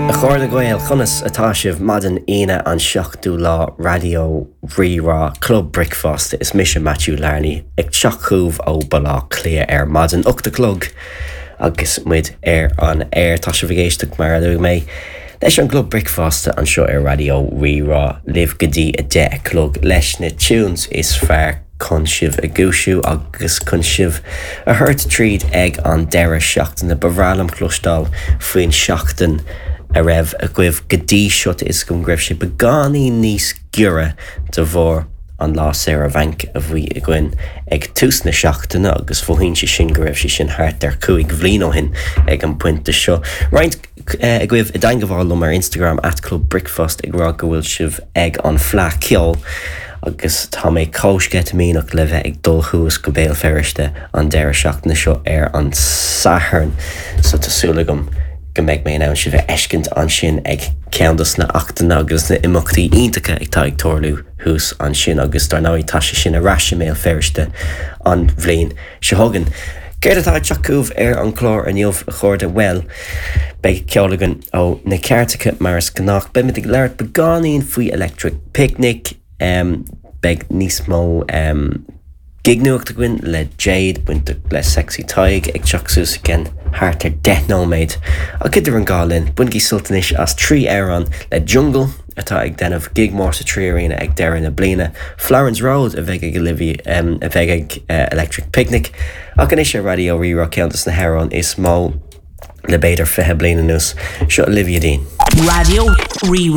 A chairde Gael, conas atá sibh? Maidin Aoine an 7ú lá Raidió Rí-Rá Club Bricfeasta. Is mise Maitiú Larney ag teacht chugaibh ó Baile Átha Cliath ar maidin, 8 a chlog agus muid ar an aer. Tá sibh ag éisteacht mar a luaigh mé leis an gClub Bricfeasta anseo ar Raidió Rí-Rá libh go dtí 10 a chlog leis na tunes is fearr chun sibh a dhúisiú agus chun sibh a thabhairt tríd ag an deireadh seachtaine. Ba bhreá liom cloisteáil faoin seachtain a raibh agaibh go dtí seo. Tá 'fhios agam go raibh sé beagáinín níos giorra de bharr an lá saoire bhainc a bhí againn ag tús na seachtaine agus mhothaíonn sé sin go raibh sé sin thart ar chúig bhliain ó shin ag an bpointe seo. Roinnt agaibh i dteangabháil liom ar Instagram at Club Bricfeasta ag rá go bhfuil sibh ag an Fleadh Ceoil agus tá mé chomh sceitimíneach le bheith ag dul thuas go Béal Feirste an deireadh seachtaine seo ar an Satharn so tá súil agam go mbeidh mé in ann sibh a fheiscint ansin ag ceann dos na achtanna agus na imeachtaí iontacha atá ag tarlú thuas ansin agus dar ndóigh tá sé sin ar ais i mBéal Feirste an bhliain seo chugainn. Céard atá ag teacht chugaibh ar an chlár inniu, a chairde? Bhuel, beidh ceol againn ó na cairteacha mar is gnách. Beimid ag labhairt beagáinín faoi Electric Picnic. Beidh níos mó gignuacht againn le Jade, bainteach le Sexy Tadhg, ag teacht suas i gceann thart ar 10 nóiméad. Ach idir an dhá linn, bainigí sult anois as 3 amhrán le Jungle, atá ag déanamh gig mór sa 3 Arena ag deireadh na bliana, Florence Road a bheidh ag Olivia, a bheidh ag Electric Picnic, ach anois ar Raidió Rí-Rá ceann de na hamhráin is mó le b'fhéidir 20 bliain anuas, seo Olivia Dean. Raidió Rí-Rá.